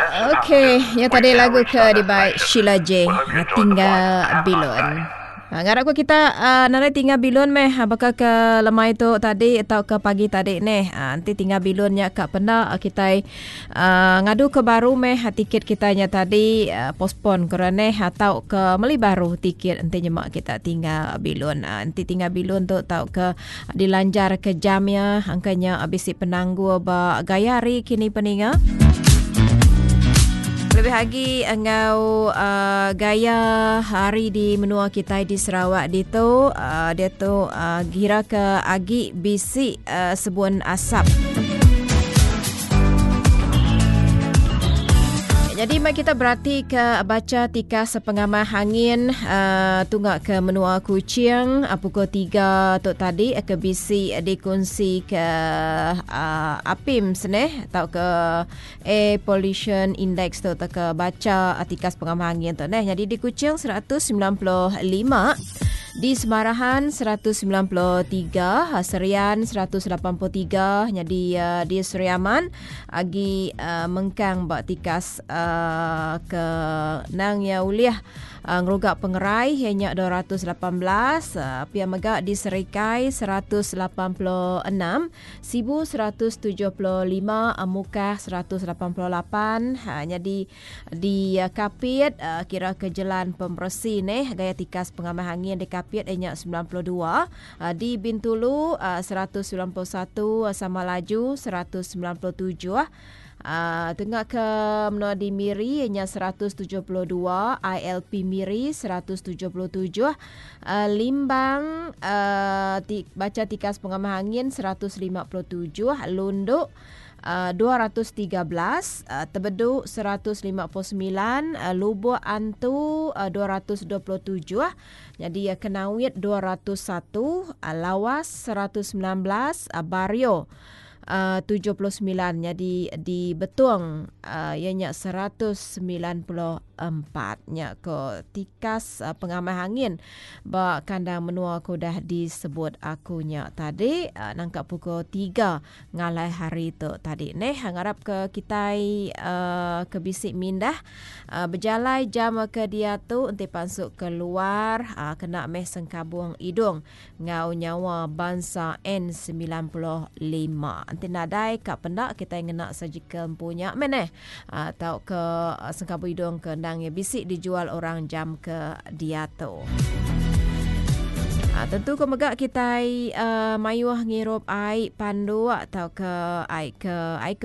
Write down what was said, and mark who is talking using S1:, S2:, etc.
S1: Okey, ya tadi lagu ke dibai Sheila J. Tinggal Bilun. Ha, ngarap ke kita uh, nadai tinggal bilun meh ha, baka ke lemai tu tadi atau ke pagi tadi neh. Ha, nanti tinggal bilun nya ka penda kita uh, ngadu ke baru meh ha, tiket kita nya tadi uh, postpone ke neh atau ke meli baru tiket enti nyema kita tinggal bilun. Uh, enti tinggal bilun tu tau ke Dilanjar ke jam iya angka nya bisi penanggul ba gaya hari kini peninga. Lebih agi enggau uh, gaya hari di menua kitai di Sarawak ditu uh, diatu uh, kira ke agi bisi uh, sebun asap. Jadi mari kita berati ke baca tikas pengamah angin uh, tunga ke menua Kuching uh, pukul 3 tu tadi uh, ke bisi dikunsi ke uh, APIM seneh atau ke Air Pollution Index tu atau ke baca uh, tikas pengamah angin tu neh. Jadi di Kuching 195 Di Semarahan 193, Serian 183, nyadi di Sri Aman agi mengkang ba tikas ke nang iya ulih ngeruga pengerai iya nya 218, pia mega di Serikai 186, Sibu 175, Mukah 188, nyadi Di Kapit, kira ke jelan pemeresi neh gaya tikas pengamah angin di Kapit iya nya 92, di Bintulu 191, Samalaju 197, tengah ke menua di Miri iya nya 172, ILP Miri 177, Limbang bacha tikas pengamah angin 157, Lundu 213, Tebedu 159, Lubok Antu 227, nyadi Kenawit 201, Lawas 119, Bario 79, nyadi di Betong iya nya 194. Nya ko tikas pengamah angin ba kandang menua ke udah disebut aku nya tadi nangka pukul 3 Ngalai hari tu tadi neh ngarap ke kitai uh, ke bisi mindah uh, bejalai jam ke diatu enti pansut ke luar uh, kena meh sengkabung idung enggau nyawa bansa N95. Enti nadai ka penda kitai ngena surgical empu nya meh neh uh, tauka sengkabung idung ke endang iya bisi dijual orang jam ke diatu. Ha, tentu ke mega kitai uh, mayuh ngirup ai panduk tauka ai ke ai ke.